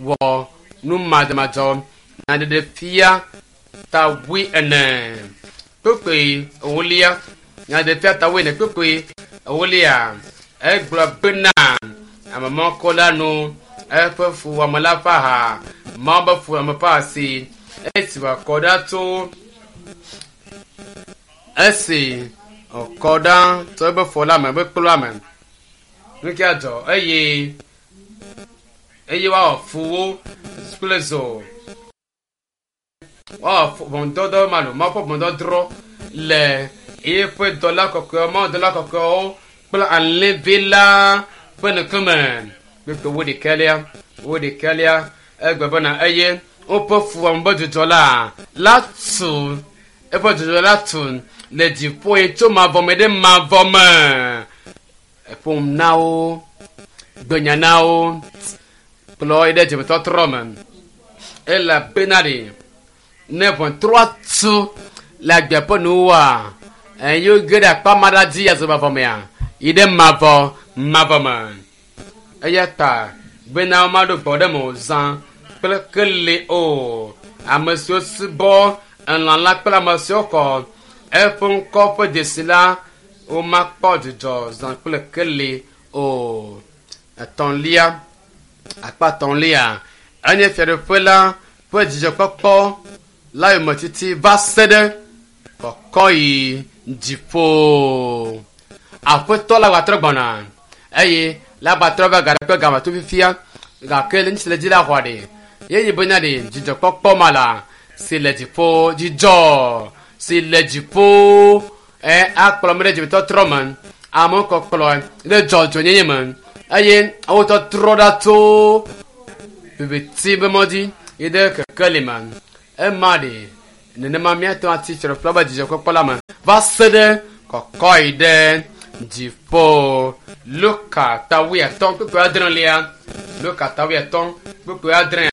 Wɔ nu madzɔmadzɔ. Nyaɖeɖefia ta wuiene kpukpui ewolia. Nyaɖeɖefia ta wuiene kpukpui ewolia. Egblɔ bena ame mɔkɔ la nu eƒe fuwɔame la ƒe aha, Mawu ƒe fuwɔame ƒe asi esi wòakɔ ɖa tso esi wòkɔ ɖa tso eƒe fɔ la me, eƒe kplu la me. Nu kia dzɔ eye eye woawɔ fu wo kple zo. Woawɔ fu ʋɔnudɔdɔ ma lo Mawu ƒe ʋɔnudɔdrɔ̃ le eƒe dɔla kɔkɔewo, Mawu dɔla kɔkɔewo kple alẽvi la ƒe ŋkume. Kpukpui wuiɖekɛlia, wuiɖekɛlia egblɔ bena eye woƒe fuwɔame ƒe dzudzɔ la la tu eƒe dzudzɔ la tu le dziƒo yi tso mavɔ me ɖe mavɔ me. Eƒom na wo, gbenya na wo, kplɔ yi ɖe dzimetɔtrɔ me. Elabena ɖe ne ʋɔtrɔa tu le agbea ƒe nuwua, eye woge ɖe akpa ma ɖa dzi azɔ mavɔ mea, yi ɖe mavɔ mavɔ me. Eya ta bena womaɖo gbɔ ɖe me o zã kple keli o. Ame siwo subɔ elã la kple ame siwo xɔ eƒe ŋkɔ ƒe dzesi la, womakpɔ dzidzɔ zã kple keli o. Etɔ̃lia, akpa etɔ̃lia, enye fiaɖuƒe la ƒe dzidzɔkpɔkpɔ la yometiti va se ɖe kɔkɔyi dziƒo. Aƒetɔ la gatrɔ gbɔna eye la gbatrɔ va gaɖe kple game to fifia gake le ŋuti le dzi la xɔa ɖe ye yi bena ɖe dzidzɔkpɔkpɔ ma la si le dziƒo dzidzɔ si le dziƒo e akplɔ me ɖe dzimetɔtrɔ me amewo kɔkplɔ ɖe dzɔdzɔnyenye me eye wotɔtrɔ ɖa tso viviti be mɔ dzi yi ɖe kekeli me ema ɖe nenema míate ŋu atsi tre kple be dzidzɔkpɔkpɔ la me va se ɖe kɔkɔe ɖe dziƒo. Luka ta wuiatɔ̃ kpukpui adrelia. Luka ta wuiatɔ̃ kpukpui adre.